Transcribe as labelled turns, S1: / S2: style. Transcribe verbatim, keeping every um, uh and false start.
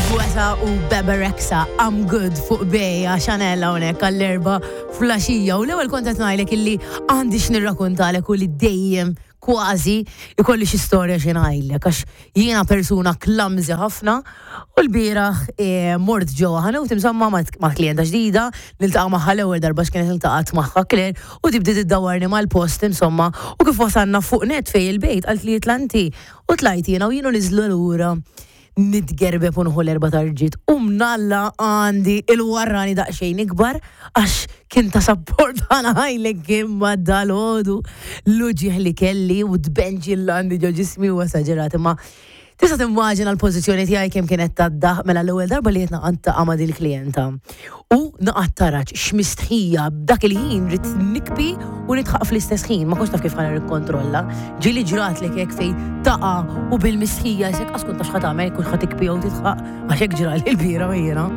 S1: Guetta u Bebe Rexha, "I'm Good" fuq Bejja Chanel hawnhekk għall-erba filgħaxija. U l-ewwel kont qed ngħidlek illi għandi x'nirrakkontalek u li dejjem kważi ikolli xi storja xi ngħidlek, għax jiena persuna clumsy ħafna. U l-bieraħ eh, mort ġewwa ħanut insomma ma' ma' klienta ġdida, niltaqa' magħha l-ewwel darba, x'kienet iltaqgħet magħha Claire, u tibdi tiddawarni mal-post insomma, u kif wasalna fuq net fejn il-bejt qalt li itla' inti, u tlajt jiena u jienu niżlu lura nitgerbeb u nħu l-erba tarġiet u mnalla għandi il-warrani daqxejn ikbar, għax kien ta' support għana ħajlek, imma dal-ħodu l-uġigħ li kelli u d-benġi l-għandi ġo ġismi u esaġerat, imma tista' timmaġina l-pożizzjoni tiegħi kemm kienet taddaħ. Mela l-ewwel darba li qed niltaqa' ma' din il-klijenta u naqgħad taraġ x'mistħija, b'dak il-ħin rrid nikbi u nidħaq fl-istess ħin, ma kontx taf kif ħa nikkontrolla. Ġieli ġratlek hekk fejn taqa' u bil-mistħija jsek qas kont taf x'ħa tagħmel, kux ħa tikbi jew tidħaq? Għax hekk ġrali l-bieraħ jiena.